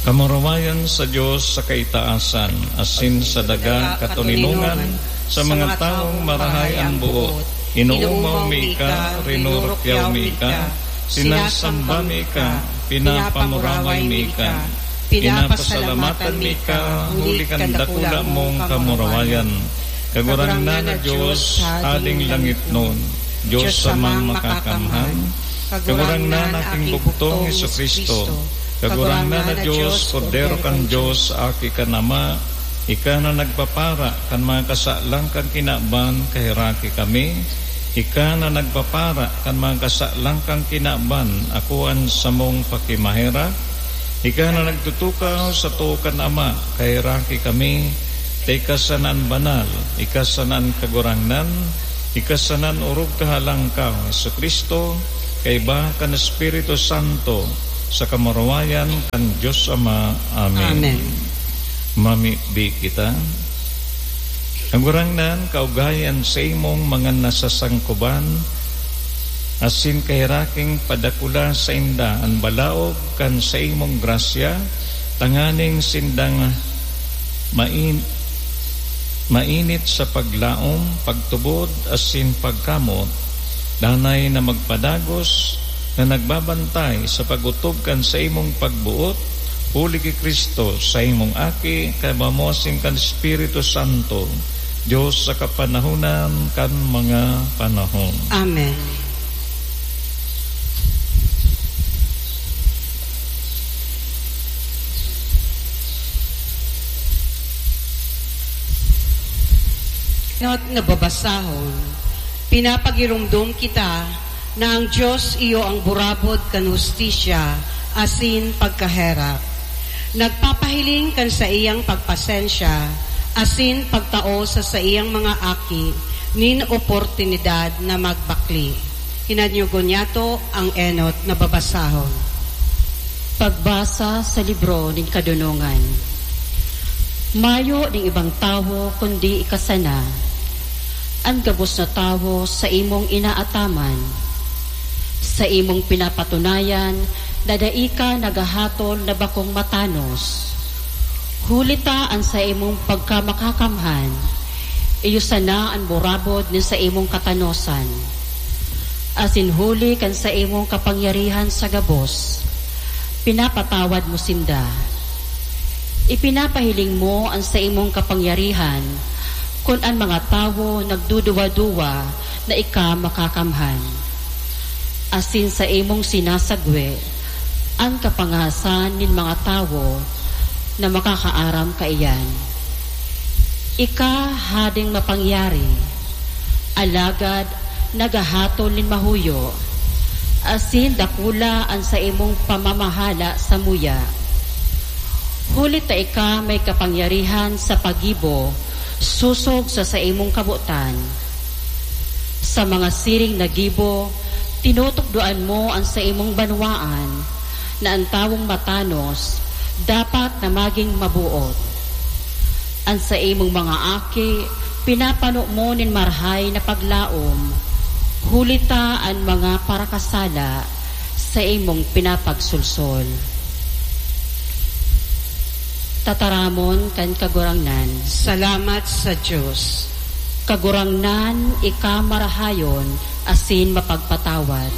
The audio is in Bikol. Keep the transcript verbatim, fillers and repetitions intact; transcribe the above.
Kamurawayan sa Dios sa kaitaasan, asin sa daga katoninongan sa mga tawong marahay an boot. Inoomaw mi ika, rinurukyaw mi ika, sinasamba mi ika, pinapamuraway mi ika, pinapasalamatan mi ika, huli kan dakula mong kamurawayan. Kagurangnan na Dios, Hading langitnon, Dios Amang Makakamhan, Kagurangnan na aking bugtong Jesu-Cristo, Kagurangnan na Dios, Kordero kan Dios, Aki kan Ama, ika na nagpapara kan mga kasalang kan kinaban, kaheraki kami. Ika na nagpapara kan mga kasalang kan kinaban, ako an samong pakimaherak. Ika na nagtutukaw sa too kan Ama, kaheraki kami. Ta ika sana an banal, ika sana an kagurangnan, ika sana an orog kahalangkaw, Jesu-Cristo, kaiba kan Espiritu Santo, sa kamurawayan kan Dios Ama. Amen. Amen. Mamibi kita. Kagurangnan, kaugayan sa imong mga nasasangkoban, asin kaheraking padakula sainda an balaog kan saimong grasya, tanganing sindang main-, mainit sa paglaom, pagtubod, asin pagkamot, danay na magpadagos na nagbabantay sa pag-otob kan saimong pagboot, huli ki Cristo, saimong Aki, kaiba mo asin kan Espiritu Santo, Dios sa kapanahonan kan mga panahon. Amen. Enot na babasahon, pinapagiromdom kita na ang Dios iyo ang burabod kan hustisya asin pagkaherak. Nagpapahiling kan saiyang pagpasensya asin pagtao sa saiyang mga aki nin oportunidad na magbakle. Hinanyogon niyato ang enot na babasahon. Pagbasa sa libro nin Kadonongan. Mayo nin ibang tawo kundi ika sana, an gabos na tawo sa imong inaataman, sa imong pinapatunayan na dai ka naghahatol na bakong matanos. Huli ta an saimong pagkamakakamhan, iyo sana an burabod nin saimong katanosan. Asin huli kan saimong kapangyarihan sa gabos, pinapatawad mo sinda. Ipinapahiling mo an saimong kapangyarihan kun an mga tawo nagduduwa-duwa na ika makakamhan. Asin saimong sinasagwe an kapangahasan nin mga tawo na makakaaram kaiyan. Ika hading mapangyari, alagad naghahatol nin mahuyo, asin dakula an saimong pamamahala samuya. Huli ta ika may kapangyarihan sa paggibo sosog sa saimong kabotan. Sa mga siring na gibo, tinutukdoan mo an saimong banwaan, na an tawong matanos dapat na magin maboot. An saimong mga aki, pinapano mo nin marahay na paglaom, huli ta an mga parakasala saimong pinapagsolsol. Tataramon kan Kagurangnan. Salamat sa Dios. Kagurangnan, ika marahayon asin mapagpatawad.